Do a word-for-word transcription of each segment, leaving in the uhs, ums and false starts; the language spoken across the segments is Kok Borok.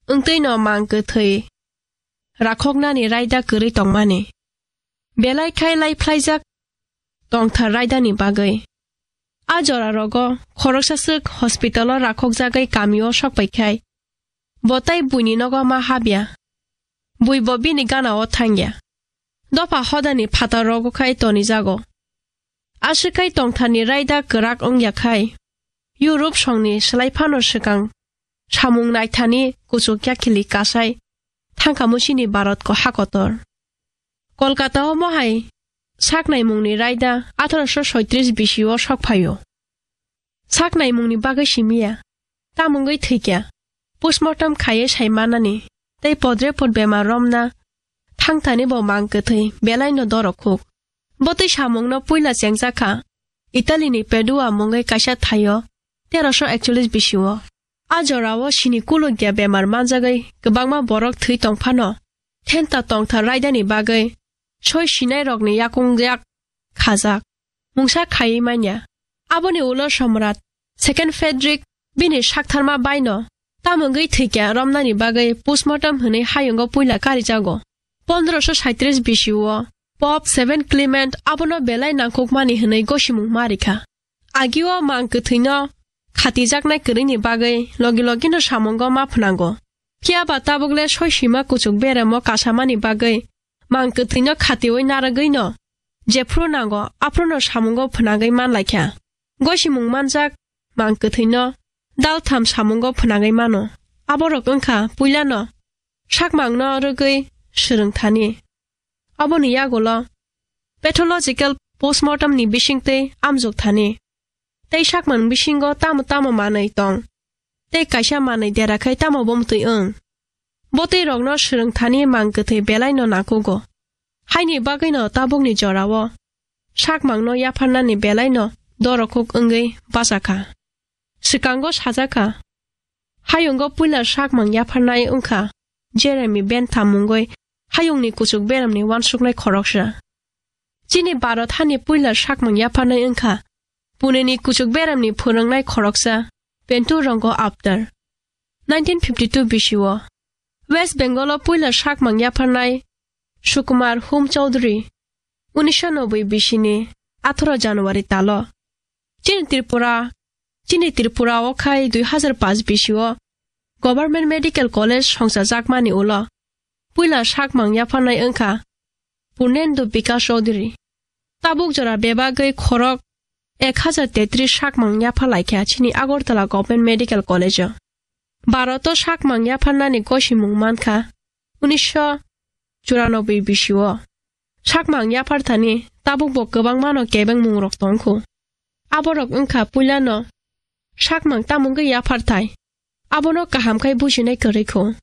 wngtwino mang kwthwi rakhoknani raida kwrwi tongmani. Belai khai lai phlaijak tongthar raidani bagwi. A jora rogo khoroksa swk hospital-o rakhokjagwi kamio sokpai khai, bo tai buini nogo ma habya. Bui bo bini gana-o thangya. Dopha hodani phatar rogo khai tonijago. Aswk khai tongtharni raida kwrak wngya khai, Europe songni slai phano swkang samung naithani kuchuk yakhili kasai thangkhamu chini Bharat ko hakotor. Kolkata-o mohai saknaimungni raida atharoso soitris bisio sokphaio. Saknaimungni bagwi simiya, tamungwi thwikya, postmortem khaiwi sai manani, tei podre pod bemar romna thangthani bo mang kwthwi belaino dorokhuk. Botwi samungno puila chengjakha Italyni Padua mungwi kaisa thaio teroso ekchollis bisio. A jorao sini kulukya bemar manjagwi kwbangma borok thwi tongphano, thenta tongthar raidani bagwi soi sinairokni yakung yak khajak, mungsa khaiwi manya. Aboni ulo Somrat Second Frederick bini saktharma baino tamungwi thwikya romnani bagwi postmortem hwnwi hayungo puila karijago. Pondroso saitris bisio Pope Seven Clement abono belai nangkukmani hwnwi gosimung ma rikha. Agio mang kwthwino khatijaknai kwrwini bagwi logi logino samungo ma phnango. Phiya ba tabukle soi sima kuchuk beremo kasamani bagwi mang kwthwino khatiwi narwgwino jephru nango aphruno samungo phnangwi manlaikha. Gosimung manjak mang kwthwino daltham samungo phnangwi mano. Aborok wngkha puilano sakmangno rwgwi swrwngthani. Aboni yagulo pathological postmortem ni bisingtwi amjok thani. Tei sakmang bisingo tamo tamo manwi tong. Tei kaisa manwi dera khai tamo bomtwi wng. Botwi rokno swrwng thani mang kwthwi belaino nakugo. Haini bagwino tabukni jorao sakmangno yapharnani belaino dorokhuk wngwi bachakha. Swkango sajakha, hayungo puila sakmang yapharnai wngkha Jeremy Bentham mungwi hayungni kuchuk beramni uansuknai khoroksa. Chini Bharat hani puila sakmang yapharnai wngkha Puneni kuchuk beramni phwrwngnai khoroksa Pentu Rongo Aptar. Nineteen fifty-two bisio West Bengal-o puila sakmang yapharnai Sukumar Hum Chowdhury, unisho noboi bisini atharo January talo. Chini Tripura, chini Tripura o khai dui hazar paanch bisio Government Medical College songchajakmani ulo puila sakmang yapharnai wngkha Purnendu Bikash Chowdhury. Tabuk jora bebagwi khorok ek hazar tetris sakmang yaphar laikha chini Agartala Government Medical College-o. Bharat-o sakmang yapharnani gosimung mankha unisho churanobboi bisio. Sakmang yapharthani tabukbo kwbangmano kebengmungrok tongkhu. Aborok wngkha puilano sakmang tamungwi yapharthai. Abono kaham khai bujinai kwrwikhu.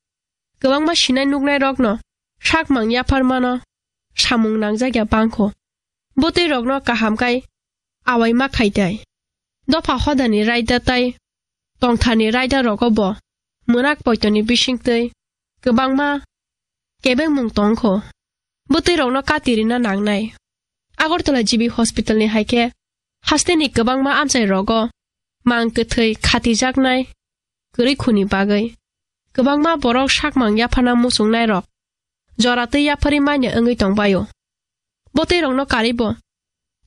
Kwbangma sinai nuknairokno sakmang yapharmano samung nangjak ya bangkhu. Bwtwi rokno kaham khai awai ma khai tai. Dopha hodani raida tai tongtharni raida rogo bo mwnak poitoni bisingtwi kwbangma kebengmung tongkho. Bwtwi rokno kati rina nangnai. Agartala G B Hospital ni hai khe hasteni kwbangma amchai rogo mang kwthwi khatijaknai kwrwi khuni bagwi kwbangma borok sakmang yaphana muchungnai rok jora twi yapharwi manya wngwi tongbaio. Botwi rokno karibo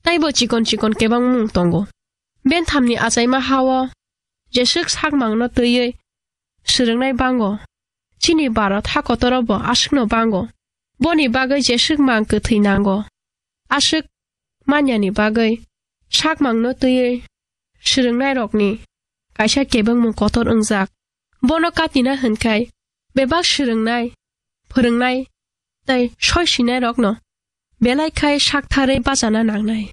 taibo chikon chikon kebang mung tongo. Benthamni achaima hao jeswk sakmangno twiwi swrwngnai bango. Chini Bharat ha kotoro bo aswkno bango. Boni bagwi jeswk mang kwthwi nango. Aswk manyani bagwi sakmangno twiwi swrwngnairokni kaisa kebengmung kotor wngjak. Bono katina hwnkhai bebak swrwngnai, phwrwngnai tei soi sinairokno belai khai saktharwi bachana nangnai.